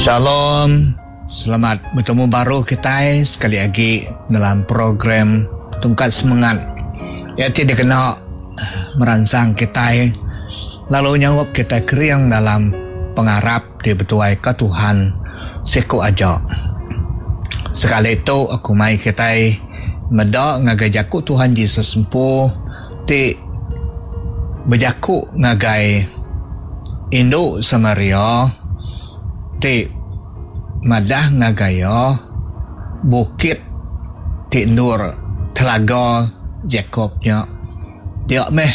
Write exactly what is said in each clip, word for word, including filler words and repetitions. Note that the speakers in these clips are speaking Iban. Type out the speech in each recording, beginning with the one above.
Shalom. Selamat betemu baru kitai sekali agi dalam program Tungkat Semengat. Iya ti dikena meransang kitai lalu nyaup kitai kering dalam pengarap ti betuaika Tuhan siku aja. Sekali tu aku mai kitai meda ngagai jaku Tuhan Jesus empu ti bejaku ngagai indu Samaria ti madah ngagai iya bukit ti endur telaga Jacob nya dia meh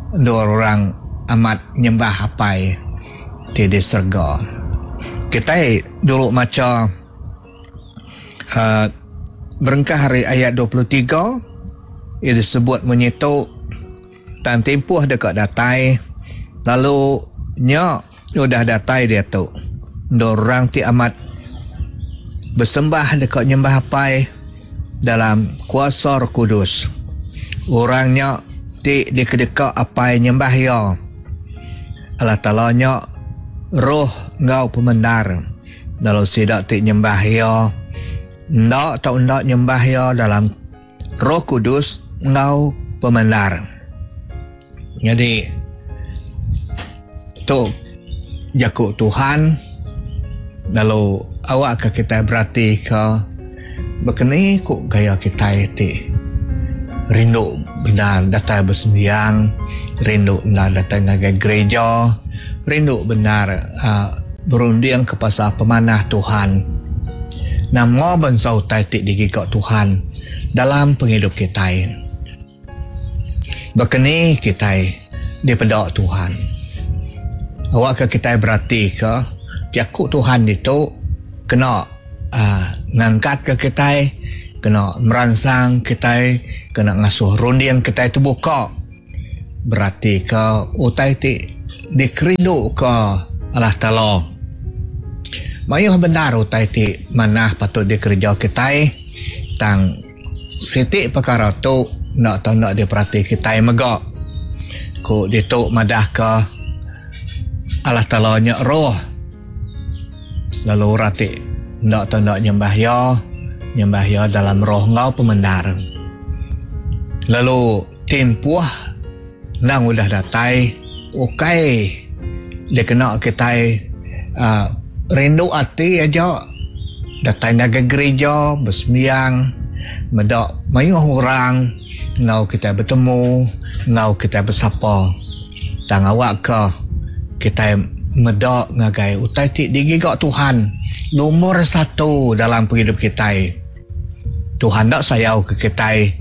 endur orang amat nyembah Apai ti di serega. Kitai dulu macha uh, berengkah ari ayat dua puluh tiga ia disebut munyi tu, tang tempoh deka datai lalu nya udah datai diatu endur orang ti amat besembah deka nyembah Apai dalam kuasa Roh Kudus. Orang nya ti dikedeka Apai nyembah iya. Allah Taala nya roh enggau pemendar. Lalu sida ti nyembah iya enda tau enda nyembah iya dalam Roh Kudus enggau pemendar. Jadi tu jaku Tuhan. Lalu awak ke kita berati ke bekeni ku gaya kita ti rindu benar datai bersembiang, rindu benar datai ngagai gereja, rindu benar uh, berunding ke pasal pemanah Tuhan. Nama bansa utai ti digiga Tuhan dalam penghidup kita. Bekeni kita dipeda Tuhan. Awak ke kita berati ke jaku Tuhan itu kena uh, ngangkat ke kita, kena meransang kita, kena ngasuh runding kita terbuka. Berarti ke utai ti dikerindu ke Allah Taala. Mayuh benar utai ti manah patut dikereja kita, tang siti perkara tu nak tau nak diperhati kita mega. Ku ditu madah ke Allah Taala nya roh. Lalu orang ti ndak tau ndak nyembah iya, nyembah iya dalam roh enggau pemendar. Lalu tempoh nang udah datai ukai dikena kitai uh, rindu ati aja datai ngagai gereja bersembiang meda mayuh orang enggau kitai betemu enggau kitai bersapa. Tang awak ke kitai meda ngagai utai ti digiga Tuhan nomor satu dalam penghidup kitai. Tuhan dak sayau ke kitai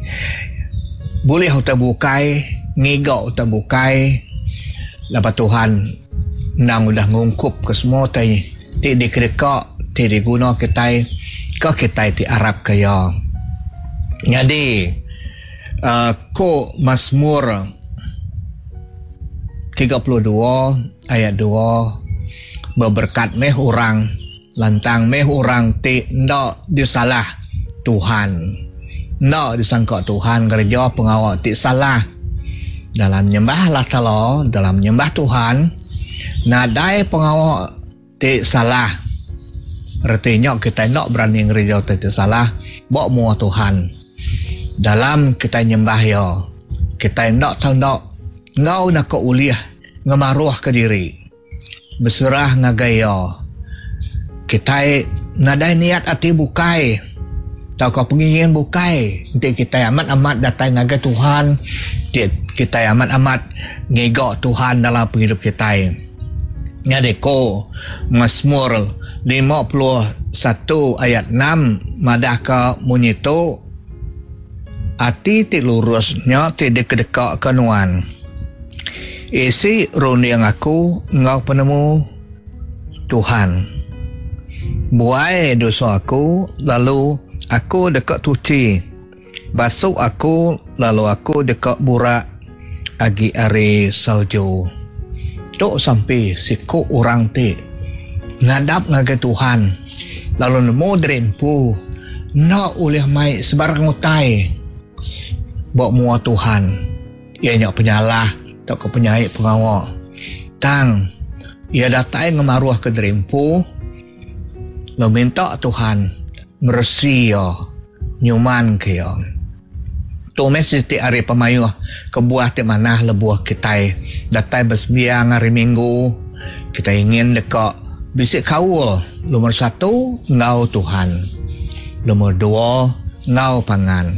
boleh utai bukai, ngiga utai bukai. Lepas Tuhan nang udah ngungkup ke semua utai ti dikedeka, ti diguna kitai, ke kitai ti arap ke iya. Jadi uh, ko Mazmur tiga puluh dua ayat dua, beberkat meh orang, lantang meh orang ti ndak disalah Tuhan. Ndak disangka Tuhan kerja pengawa ti salah. Dalam nyembah Allah Taala, dalam nyembah Tuhan, nadai pengawa ti salah. Artinya kita ndak berani ngereja ti salah ba mua Tuhan. Dalam kita nyembah iya, kita ndak tau ndak ngau nak ulih ngemaruh ke diri. Berserah ngagai iya. Kita nadai niat ati bukai tau ka pengingin bukai. Enti kita amat-amat datang ngagai Tuhan, kita amat-amat ngiga Tuhan dalam penghidup kita. Jadi ko Mazmur lima puluh satu ayat enam madah ka munyi tu, ati ti lurus nya ti dikedeka ke nuan. Isi runding aku enggau penemu Tuhan. Buai dosa aku lalu aku deka tuci. Basuk aku lalu aku deka burak agi ari salju. Tu sampai siku orang ti ngadap ngagai Tuhan lalu nemu diri empu nak ulih mai sebarang utai ba mua Tuhan. Ia nya penyalah atau ke penyai pengawa. Tang ia datai ngemaruh ke diri empu Lalu minta Tuhan meresi iya, nyuman ke iya. Tu meh siti ari pemayuh kebuah ti manah lebuh kitai datai besembiang hari Minggu. Kitai ingin deka bisi kaul lumur satu enggau Tuhan, lumur dua enggau pangan.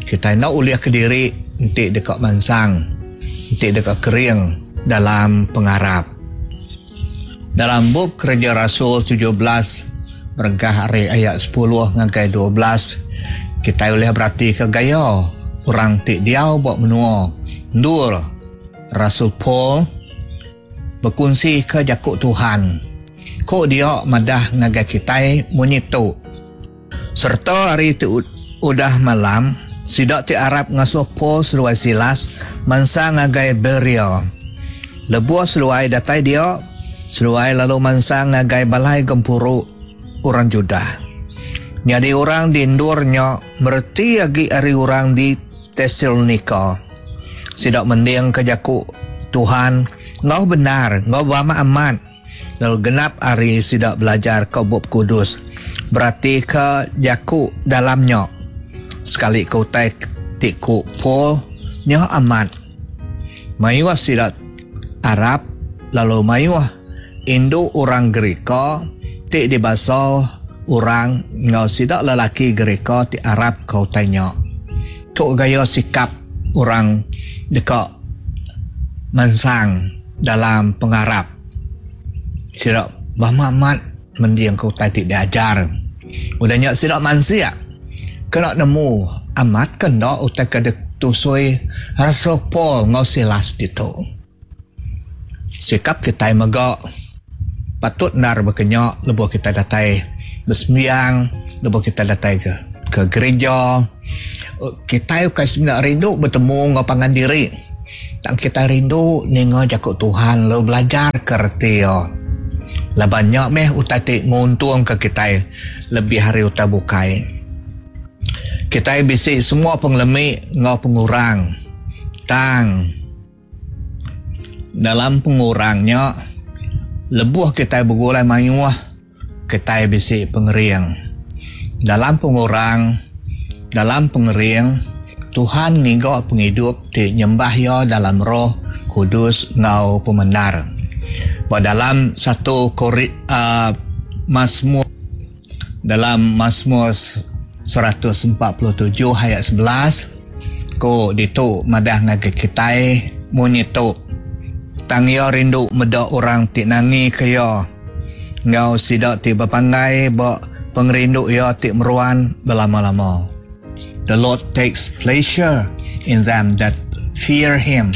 Kitai enda ulih kediri enti deka mansang, enti deka kering dalam pengarap. Dalam bup Kereja Rasul tujuh belas berengkah ari ayat sepuluh ngagai dua belas, kitai ulih berati ke gaya orang ti diau ba menua endur Rasul Paul bekunsi ke jaku Tuhan. Ko dia madah ngagai kitai munyi tu. Serta hari ti udah malam, sida ti arap ngasuh Paul seduai Silas mansang ngagai Berea. Lebuh seduai datai dia, seduai lalu mansang ngagai balai gempuru orang Judah. Nyadi orang di endur nya mereti agi ari orang di Tesalonika. Sida mending ke jaku Tuhan ngau benar, ngau amat-amat. Lalu genap hari sida belajar ke Bup Kudus, berarti ke jaku dalamnya. Sekali ke utai ti ku Paul nya amat. Mayuh sida Arab lalu mayuh indu orang Gerika ti dibasa orang ngau sida lelaki Gerika ti Arab ke utai nya. Tu gaya sikap orang deka mansang dalam pengarap. Sida amat mending ke utai ti diajar. Udah nya sida mansia kena nemu amat ke enda utai ke ditusui Rasul Paul ngau Silas ditu. Sikap kitai mega patut nar berkenya lebuh kita datai bersembiang, lebuh kita datai ke ke gereja. Kita bukan sebenarnya rindu bertemu dengan pangan diri, tang kita rindu ninga jaku Tuhan lalu belajar ke reti iya. Laban nya meh utai ti nguntung ke kitai lebih hari utai bukai. Kitai bisi semua pengelemi ngau pengurang. Tang dalam pengurangnya lebuh kitai begulai mayuh, kitai bisi pengering. Dalam pengurang, dalam pengering, Tuhan ngiga penghidup ti nyembah iya dalam Roh Kudus ngau pemendar. Ba dalam satu Kori, uh, Mazmur, dalam Mazmur seratus empat puluh tujuh ayat sebelas, ko ditu madah ngagai kitai munyi tu. Tang iya rindu meda orang ti nangi ke iya, ngau sida ti berpanggai ba pengerindu iya ti meruan berlama-lama. The Lord takes pleasure in them that fear him,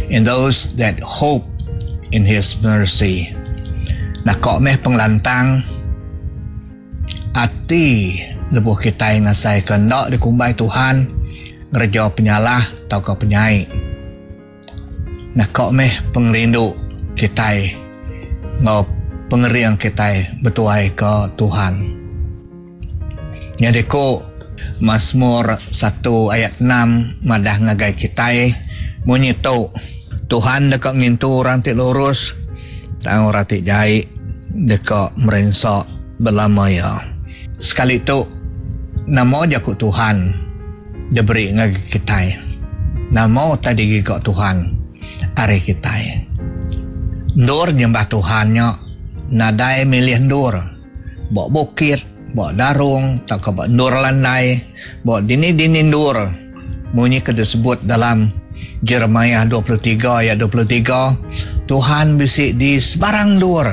in those that hope in his mercy. Nakok meh pengelantang ati lebuh kitai ngasai ke enda dikumbai Tuhan ngereja penyalah atau ke penyai. Nakok meh pengerindu kitai ngau pengering kitai bertuai ke Tuhan. Jadi ko Mazmur satu ayat enam madah ngagai kitai munyi tu, Tuhan deka ngintu orang ti lurus, tang orang ti jai deka merinsa belama iya. Sekali tu nama jaku Tuhan diberi ngagai kitai. Nama tadi giga Tuhan ari kitai. Endur nyembah Tuhan nya nadai milih endur. Ba bukit, ba darung, tauka ba endur landai, ba dini-dini endur. Munyi ke disebut dalam Jeremiah dua puluh tiga ayat dua puluh tiga, Tuhan bisi di sebarang endur.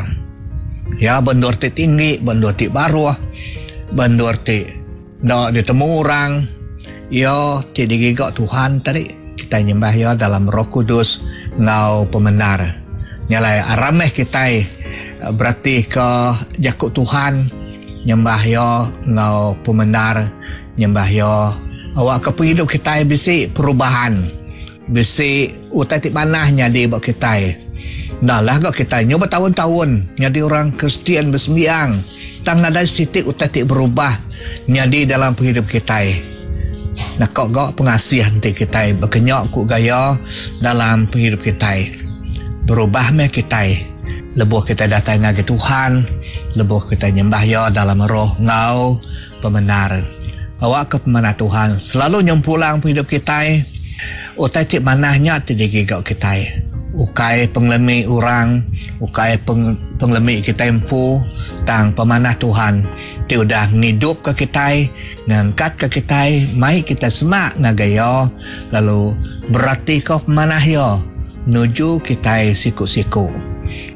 Ya, endur ti tinggi, endur ti baruh, endur ti enda ditemu orang. Ya, ti digiga Tuhan tadi, kita nyembah ya dalam Roh Kudus ngau pemendar. Nyalai arameh kitai berarti ke jaku Tuhan, nyembah ya ngau pemendar, nyembah ya awak ke penghidup kitai bisi perubahan, bisi utai ti manah nyadi ba kitai. Dah lah gak kitai nyoba tahun-tahun nyadi orang Kristian bersembiang, tang nadai siti utai ti berubah nyadi dalam penghidup kitai. Nakok gak pengasih nanti kitai berkenyak ku gaya dalam penghidup kitai. Berubah meh kitai lebuh kitai datang ngagai Tuhan, Lebuh kitai nyembah Iya dalam roh enggau pemendar. Awakka pemanah Tuhan selalu nyempulang pengidup kitai. Utai ti manah nya ti digiga kitai. Ukai pengelemi orang, ukai peng, pengelemi kitai empu, tang pemanah Tuhan ti udah ngidupka kitai, ngangkatka kitai, mai kitai semak ngagai Iya, lalu beratika pemanah Iya nuju kitai siku-siku.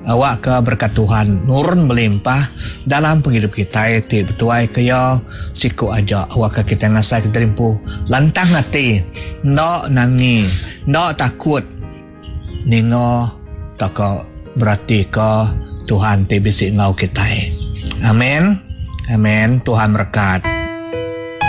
Awakka berekat Tuhan nurun melimpah dalam pengidup kitai ti betuaika Iya siku aja. Awakka kitai ngasaika diri empu lantang ati, enda nangi, enda takut ninga tauka beratika Tuhan ti bisi enggau kitai. Amen. Amen. Tuhan merekat.